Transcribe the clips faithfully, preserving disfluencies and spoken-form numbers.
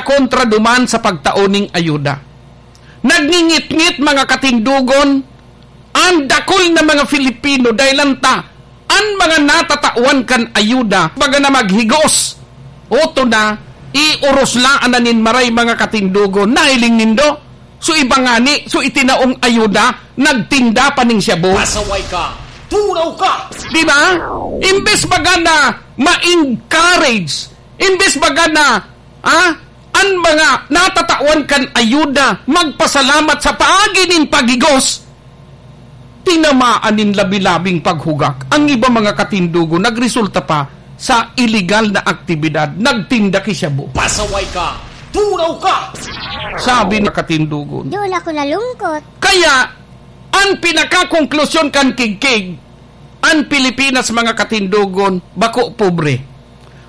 kontra duman sa pagtao ning ayuda. Nagngingitngit, mga katindogon, ang dakul na mga Filipino dahil anta an mga natatawan kan ayuda, baga na maghigos. Oto na, iuros laan na nin maray, mga katindogon. Nahiling nindo? So, iba ngani, so, itinaong ayuda, nagtinda pa ning shabu. Pasaway ka! Turaw ka! Di ba? Imbes baga na ma-encourage, imbes baga na, ah, an mga natatawan kan ayuda magpasalamat sa paagi nin paghigos, tinamaan nin labi-labing paghugak. Ang iba, mga katindogon, nagresulta pa sa iligal na aktibidad, nagtinda ki shabu. Pasaway ka! Turaw ka! Sabi ni katindogon. Doon ako nalungkot. Kaya, ang pinakakonklusyon kan kigkig, ang Pilipinas, mga katindogon, bako pobre.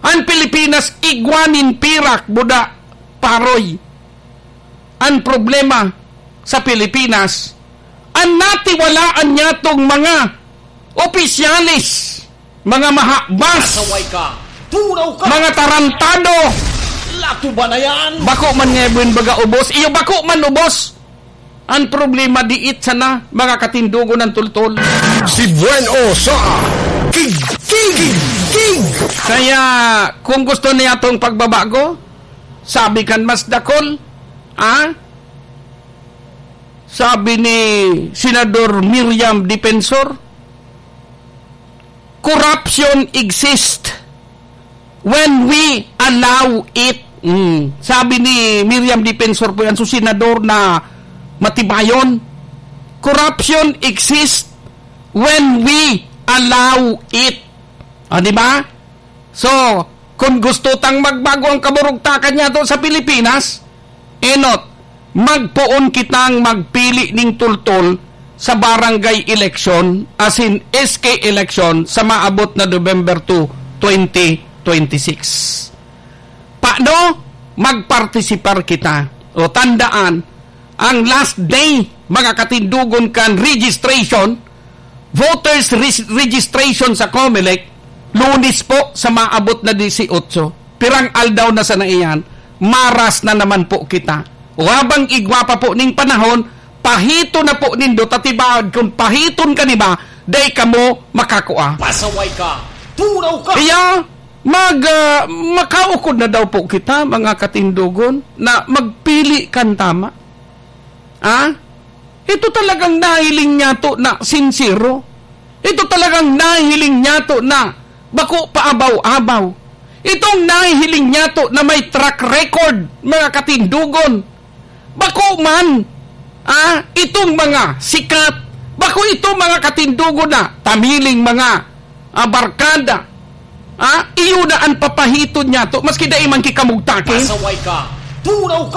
Ang Pilipinas, igwa nin pirak, buda, paroy. Ang problema sa Pilipinas, ang natiwalaan niyatong mga opisyales, mga mahabas, Pasaway ka! Turaw ka! Mga tarantado! Lato ba na yan? Bako man nga buin baga ubos, iyo, bako man ubos. Ang problema, diit sana, mga katindogon, ng tultol. Si Buen O sa King, King, King. Kaya, kung gusto niya tong pagbabago, sabi kan mas dakol, ah? Sabi ni Senador Miriam Defensor, "Corruption exists when we allow it." Mm. Sabi ni Miriam Defensor po yan, so senador na matibayon, "Corruption exists when we allow it." Ah, di ba? So, kun gusto tang magbago ang kaburugtakan niyato sa Pilipinas, enot, magpoon kitang magpili ning tultol sa barangay election, asin S K election, sa maabot na November two, twenty twenty-six. Paano? Magpartisipar kita. O, tandaan, ang last day, mga katindogon, kan registration, voters res-, registration sa Comelec, Lunes po sa maabot na disiotso. Pirang aldaw na sana iyan, maras na naman po kita. O habang igwa pa po ning panahon, pahito na po nindo, ta tibaad kun pahiton ka niba, dai kamo makakua. Pasaway ka! Turaw ka! Kaya, mag, ah, makaukod na daw po kita, mga katindogon, na magpili kan tama. Ah? Ito talagang nahiling niyato na sinsero. Ito talagang nahiling niyato na bako paabaw-abaw. Itong nahihiling niyato na may track record, mga katindogon. Bako man, ah, itong mga sikat. Bako itong mga katindogon na tamiling mga, ah, barkada. Ah, iyo na an papahiton niyato, maski dai man ki kamugtaki. Pasaway ka! Turaw ka!